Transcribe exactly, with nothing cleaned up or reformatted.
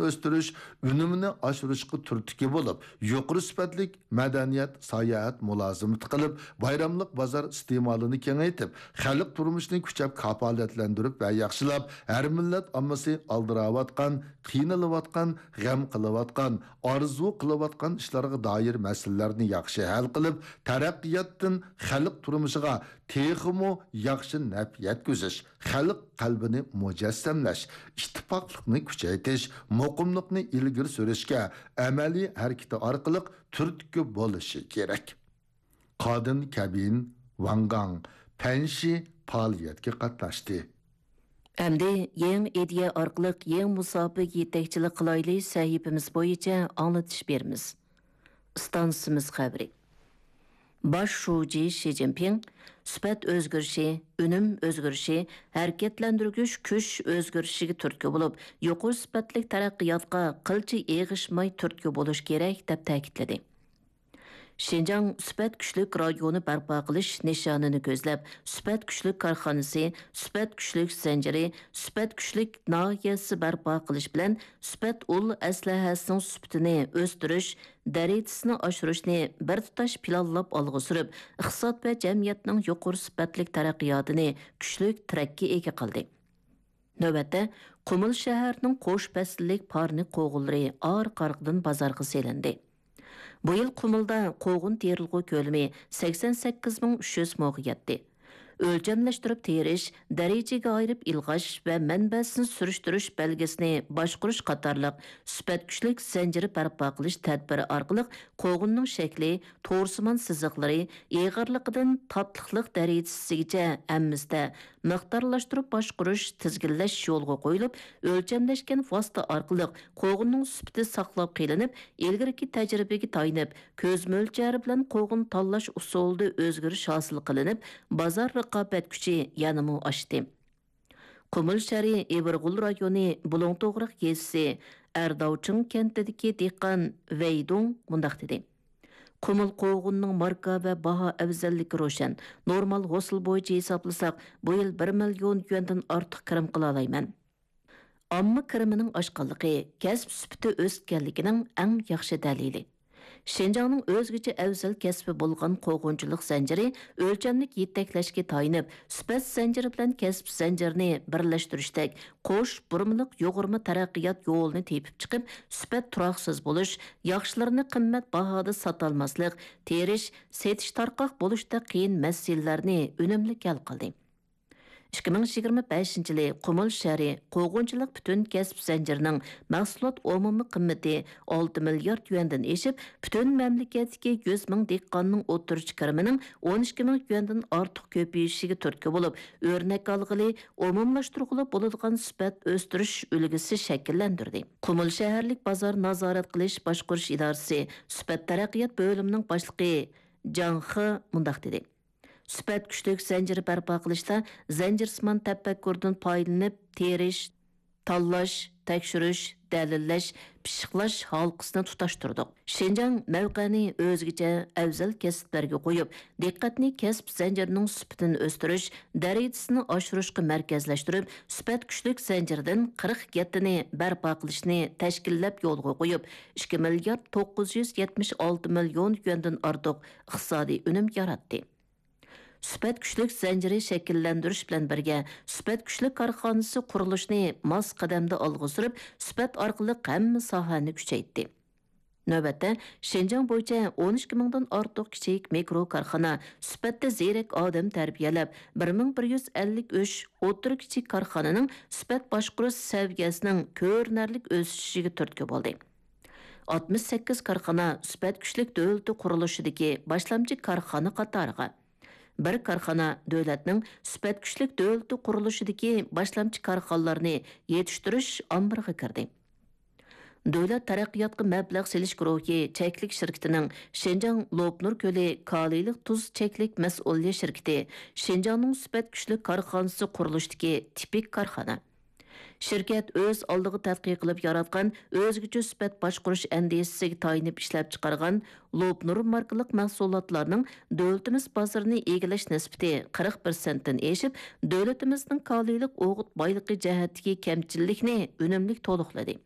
ئۆستۈرۈش، ئۈنۈمىنى ئاشۇرۇشقا تۈرتكە بولۇپ، يۇقىرى سۈپەتلىك مەدەنىيەت، ساياھەت مۇلازىمىتى قىلىپ، بايراملىق بازار ئىستېمالىنى كېڭەيتىپ، خەلق تۇرمۇشىنى كۈچەپ كاپالەتلەندۈرۈپ ۋە ياخشىلاپ، ھەر مىللەت ئاممىسى ئالدىراۋاتقان، قىينىلىۋاتقان، غەم قىلىۋاتقان، ئارزۇ قىلىۋاتقان ئىشلارغا دائىر مەسىلىلەرنى ياخشى ھەل قىلىپ، تەرەققىياتتىن خەلق تۇرمۇشىغا تېخىمۇ ياخشى نەپ يەتكۈزۈش، خەلق قەلبىنى مۇجەسسەملەش، ئىتتىپاقلىقنى كۈچەيتىش، مۇقىملىقنى ئىلگىرى سۈرۈشكە ئەمەلىي ھەرىكىتى ئارقىلىق تۈرتكە بولۇشى كېرەك. قادىن كەبىن، ۋاڭ گاڭ، پەنشى پائالىيەتكە قاتناشتى. ئەمدى يېڭى ئىدىيە ئارقىلىق يېڭى مۇساپىگە يېتەكچىلىك قىلايلى سەھىپىمىز بويىچە ئاڭلىتىش بېرىمىز. ئىستانسىمىز خەۋىرى. باش شۇجى شى جىنپىڭ سۈپەت ئۆزگىرىشى، ئۈنۈم ئۆزگىرىشى، ھەرىكەتلەندۈرگۈچ كۈچ ئۆزگىرىشىگە تۈرتكە بولۇپ، يۇقىرى سۈپەتلىك تەرەققىياتقا قىلچە ئېغىشماي تۈرتكە بولۇش كېرەك، دەپ تەكىتلىدى. شىنجاڭ سۈپەت كۈچلۈك رايونى بەرپا قىلىش نىشانىنى كۆزلەپ، سۈپەت كۈچلۈك كارخانىسى، سۈپەت كۈچلۈك زەنجىرى، سۈپەت كۈچلۈك ناھىيەسى بەرپا قىلىش بىلەن سۈپەت ئۇل ئەسلىھەسىنىڭ سۈپىتىنى ئۆستۈرۈش دەرىجىسىنى ئاشۇرۇشنى بىر تۇتاش پىلانلاپ ئالغا سۈرۈپ، ئىقتىساد ۋە جەمئىيەتنىڭ يۇقىرى سۈپەتلىك تەرەققىياتىنى كۈچلۈك تىرەككە ئىگە قىلدى. نۆۋەتتە، قۇمۇل شەھەرنىڭ قوش پەسىللىك پارنىك قوغۇنلىرى ئارقا-ئارقىدىن بازارغا سېلىندى. بۇ يىل قۇمۇلدا قوغۇن تېرىلغۇ كۆلىمى سەكسەن سەككىز مىڭ ئۈچ يۈز موغا يەتتى. ئۆلچەملەشتۈرۈپ تېرىش، دەرىجىگە ئايرىپ ئىلغاش ۋە مەنبەسىنى سۈرۈشتۈرۈش بەلگىسىنى باشقۇرۇش قاتارلىق سۈپەت كۈچلۈك زەنجىرى بەرپا قىلىش تەدبىرى ئارقىلىق قوغۇننىڭ شەكلى، تورسىمان سىزىقلىرى، ئېغىرلىقىدىن تاتلىقلىق دەرىجىسىگىچە ھەممىسىدە مىقدارلاشتۇرۇپ باشقۇرۇش، تىزگىنلەش يولغا قويۇلۇپ، ئۆلچەملەشكەن ۋاسىتە ئارقىلىق قوغۇننىڭ سۈپىتى ساقلاپ قېلىنىپ، ئىلگىرىكى تەجرىبىگە تايىنىپ، كۆز مۆلچەرى بىلەن قوغۇن تاللاش ئۇسۇلىدا ئۆزگىرىش ھاسىل قىلىنىپ، بازار رىقابەت كۈچى يەنىمۇ ئاشتى. قۇمۇل شەھىرى ئېۋىرغول رايونى بۇلۇڭ توغراق يېزىسى ئەرداۋچىڭ كەنتىدىكى دېھقان ۋەي دۇڭ مۇنداق دېدى: قۇمۇل قوغۇننىڭ ماركا ۋە باھا ئەۋزەللىكى روشەن. نورمال ھوسۇل بويىچە ھېسابلىساق، بۇ يىل بىر مىليون يۈەندىن ئارتۇق كىرىم قىلالايمەن. ئامما كىرىمىنىڭ ئاشقانلىقى كەسىپ سۈپىتى ئۆسكەنلىكىنىڭ ئەڭ ياخشى دەلىلى. شىنجاڭنىڭ ئۆزگىچە ئەۋزەل كەسپى بولغان قوغۇنچىلىق زەنجىرى ئۆلچەملىك يېتەكلەشكە تايىنىپ، سۈپەت زەنجىرى بىلەن كەسىپ زەنجىرىنى بىرلەشتۈرۈشتەك قوش بۇرمىلىق يۇغۇرما تەرەققىيات يولىنى تېپىپ چىقىپ، سۈپەت تۇراقسىز بولۇش، ياخشىلىرىنى قىممەت باھادا ساتالماسلىق، تېرىش، سېتىش تارقاق بولۇشتەك قىيىن مەسىلىلەرنى ئۈنۈملۈك ھەل قىلدى. ئىككى مىڭ يىگىرمە بەشىنچى يىلى قۇمۇل شەھىرى قوغۇنچىلىق پۈتۈن كەسىپ زەنجىرىنىڭ مەھسۇلات ئومۇمىي قىممىتى ئالتە مىليارد يۈەندىن ئېشىپ، پۈتۈن مەملىكەتتىكى يۈز مىڭ دېھقاننىڭ ئوتتۇرىچە كىرىمىنىڭ ئون ئىككى مىڭ يۈەندىن ئارتۇق كۆپىيىشىگە تۈرتكە بولۇپ، ئۆرنەك ئالغىلى، ئومۇملاشتۇرغىلى بولىدىغان سۈپەت ئۆستۈرۈش ئۈلگىسى شەكىللەندۈردى. قۇمۇل شەھەرلىك بازار نازارەت قىلىش باشقۇرۇش ئىدارىسى سۈپەت تەرەققىيات بۆلۈمىنىڭ باشلىقى جاڭ خې مۇنداق دېدى: سۈپەت كۈچلۈك زەنجىرى بەرپا قىلىشتا زەنجىرسىمان تەپەككۇردىن پايدىلىنىپ، تېرىش، تاللاش، تەكشۈرۈش، دەلىللەش، پىششىقلاش ھالقىسىنى تۇتاشتۇردۇق. شىنجاڭ مەۋقەنى ئۆزگىچە ئەۋزەل كەسىپلەرگە قويۇپ، دىققەتنى كەسىپ زەنجىرىنىڭ سۈپىتىنى ئۆستۈرۈش، دەرىجىسىنى ئاشۇرۇشقا مەركەزلەشتۈرۈپ، سۈپەت كۈچلۈك زەنجىرىدىن قىرىق يەتتىنى بەرپا قىلىشنى تەشكىللەپ يولغا قويۇپ، ئىككى مىليارد توققۇز يۈز يەتمىش ئالتە مىليون يۈەندىن ئارتۇق ئىقتىسادىي ئۈنۈم ياراتتى. سۈپەت كۈچلۈك زەنجىرى شەكىللەندۈرۈش بىلەن بىرگە، سۈپەت كۈچلۈك كارخانىسى قۇرۇلۇشىنى ماس قەدەمدە ئالغا سۈرۈپ، سۈپەت ئارقىلىق ھەممە ساھەنى كۈچەيتتى. نۆۋەتتە، شىنجاڭ بويىچە ئون ئىككى مىڭدىن ئارتۇق كىچىك مىكرو كارخانا سۈپەتتە زېرەك ئادەم تەربىيەلەپ، بىر مىڭ بىر يۈز ئەللىك ئۈچ ئوتتۇرا كىچىك كارخانىنىڭ سۈپەت باشقۇرۇش سەۋىيەسىنىڭ كۆرۈنەرلىك ئۆسۈشىگە تۈرتكە بولدى. ئاتمىش سەككىز كارخانا سۈپەت كۈچلۈك دۆلىتى قۇرۇلۇشىدىكى باشلامچى كارخانا قاتارىغا، بىر كارخانا دۆلەتنىڭ سۈپەت كۈچلۈك دۆلىتى قۇرۇلۇشىدىكى باشلامچى كارخانىلارنى يېتىشتۈرۈش ئامبىرىغا كىردى. دۆلەت تەرەققىياتقا مەبلەغ سېلىش گۇرۇھى چەكلىك شىركىتىنىڭ شىنجاڭ لوپنۇر كۆلى كالىيلىق تۇز چەكلىك مەسئۇلىيەت شىركىتى شىنجاڭنىڭ سۈپەت كۈچلۈك كارخانىسى قۇرۇلۇشىدىكى تىپىك كارخانا. شىركەت ئۆز ئالدىغا تەتقىق قىلىپ ياراتقان ئۆزگىچە سۈپەت باشقۇرۇش ئەندىزىسىگە تايىنىپ ئىشلەپچىقارغان لوپنۇر ماركىلىق مەھسۇلاتلارنىڭ دۆلىتىمىز بازىرىنى ئىگىلەش نىسبىتى قىرىق پىرسەنتتىن ئېشىپ، دۆلىتىمىزنىڭ كالىيلىق ئوغۇت بايلىقى جەھەتتىكى كەمچىللىكنى ئۈنۈملۈك تولۇقلىدى.